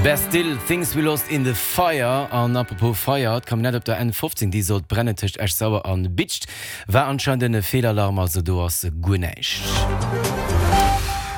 Bastille, Things We Lost In The Fire. An apropos Feier, d'Camionnette op der N15, déi sollt brennen tëscht Esch-Sauer an Bidscht, war anscheinend en Feelalarm, also do ass guer näischt.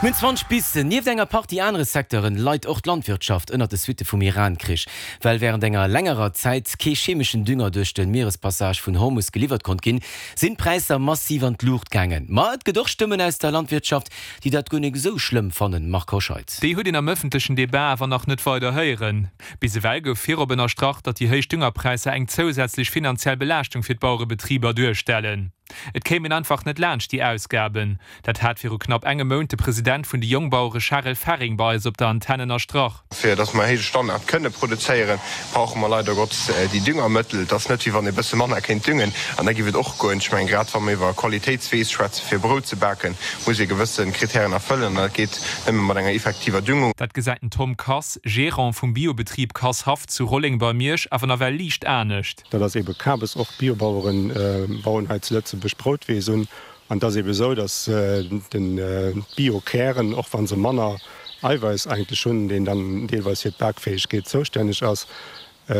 Mir hunn 20 bis. Nieft enger Partie anere Secteuren leit och d'Landwirtschaft ënnert de Suitte vum Iran-Krich. Well wärend enger längerer Zäit kee chemeschen Dünger duerch de Mierespassage vun Hormus geliwwert konnt ginn, sinn d'Präisser massiv an d'Luucht gaangen. Ma et gëtt och Stëmmen aus der Landwirtschaft, déi dat guer nik esou schlëmm fannen. Marc Hoscheid. Déi huet een am ëffentlechen Debat awer nach net weider héieren. Bis ewell gouf virop ënnerstrach, datt déi héich Düngerpräisser eng zousätzlech finanziell Belaaschtung fir d'Bauerebetriber duerstellen. Et kéim een einfach net laanscht déi Ausgaben. Dat hat viru knapp engem Mount de President vun de Jongbauere Charel Ferring bei eis op der Antenn ënnerstrach. Fir datt mer héije Standard kënne produzéieren, brauche mer leider Gottes déi Düngermëttel. Et ass net, wéi wann ee bësse manner kéint düngen an da géif et och goen. Ech mengen, grad wa mer iwwer Qualitéitsweess schwätzen, fir Brout ze baken, muss ee gewësse Kritären erfëllen an dat geet nëmme mat enger effektiver Düngung. Dat gesäit den Tom Kass, Gerant vum Biobetrib Kass Haff zu Rolleng bei Miersch, awer nawell liicht anescht. Dat ass eebe Kabes. Och Biobauere bauen hei zu Lëtzebuerg Broutweess un. An et ass eebe esou, datt d'Biokären, och wa se manner Eiweiss eigentlech hunn, deen dann deelweis fir d'Bakfäegkeet zoustänneg ass,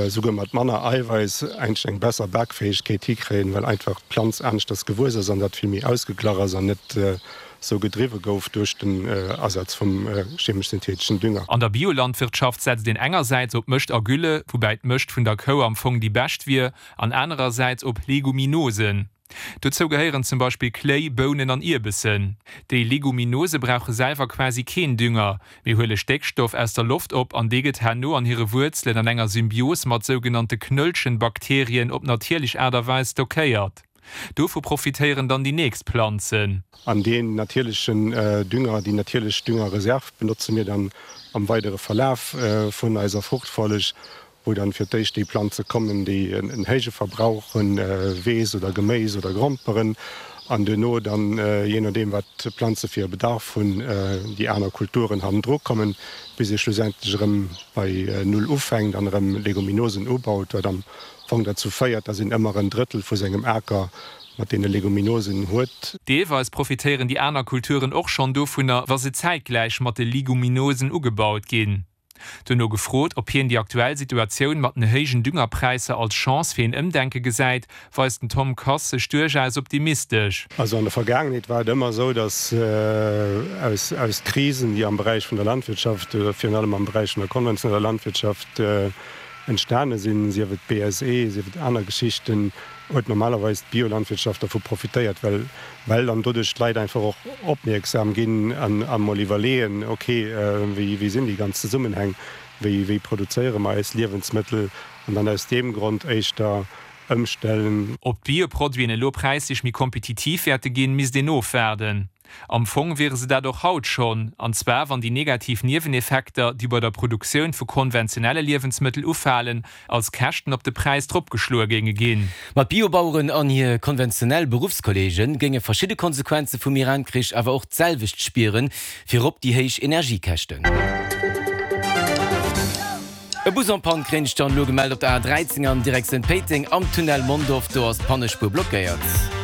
souguer mat manner Eiweiss eigentlech eng besser Bakfäegkeet hikréien, well einfach d'Planz aneschters gewuess ass an dat vill méi ausgeglach ass an net esou gedriwwe gouf duerch den Asaz vum chemesch-syntheteschen Dünger. An der Biolandwirtschaft setzt een engersäits op Mëscht a Gülle, woubäi d'Mëscht vun der Kou am Fong déi bescht wier, an anerersäits op Leguminosen. Dozou gehéieren zum Beispill Kléi, Bounen an Ierbessen. Déi Leguminose brauche selwer quasi keen Dünger, mee huele Stéckstoff aus der Loft op an dee gëtt herno an hire Wuerzelen an enger Symbios mat sougenannte Knöllchenbakterien op natierlech Aart a Weis stockéiert. Dovu profitéieren dann déi nächst Planzen. An deen natierlechen Dünger, déi natierlech Düngerreserv benotze mir dann am weidere Verlaf vun eiser Fruchtfolleg wou dann fir d'éischt déi Planze kommen, déi en héije Verbrauch hunn, Weess oder Geméis oder Gromperen, an duerno dann, jee nodeem wat d'Planze fir e Bedarf hunn, déi aner Kulturen hannendru kommen, bis ee schlussendlech erëm bei Null ufänkt an erëm Leguminosen ubaut, wat am Fong derzou féiert, dass een ëmmer en Drëttel vu sengem Aker mat deene Leguminosen huet. Deelweis profitéieren déi aner Kulturen och schonn dovunner, wa se zäitgläich mat de Leguminosen ugebaut ginn. Duerno gefrot, ob hien déi aktuell Situatioun mat den héijen Düngerpräisser als Chance fir een Ëmdenke gesäit, weist den Tom Kass sech duerchaus optimistesch. Also an der Vergaangenheet war et ëmmer esou, datt aus aus Krisen, déi am Beräich vun der Landwirtschaft oder virun allem am Beräich vun der konventioneller Landwirtschaft entstane sinn, sief et d'BSE, sief et aner Geschichten, huet normalerweis d'Biolandwirtschaft dervu profitéiert, well well dann doduerch d'Leit einfach och opmierksam ginn an a mol iwwerleeën, ok, wéi wéi sinn déi ganz Zesummenhäng, wéi wéi produzéiere mer eis Liewensmëttel an dann aus deem Grond éischter ëmstellen. Ob d'Bioproduiten elo präislech méi kompetitiv wäerte ginn, misst een ofwaarden. Am Fong wiere se dat och haut schonn, an zwar wann déi negativ Nieweneffekter, déi bei der Produktioun vu konventionelle Liewensmëttel ufalen, als Käschten op de Präis dropgeschloe géinge ginn. Ma d'Biobaueren an hir konventionell Beruffskolleege géinge verschidde Konsequenze vum Iran-Krich awer och d'selwecht spieren, virop déi héich Energiekäschten. E Bus en Panne kréint ech dann elo gemellt op der A 13 an Direktioun Péiteng am Tunnel Mondorf. Do ass d'Pannespuer blockéiert.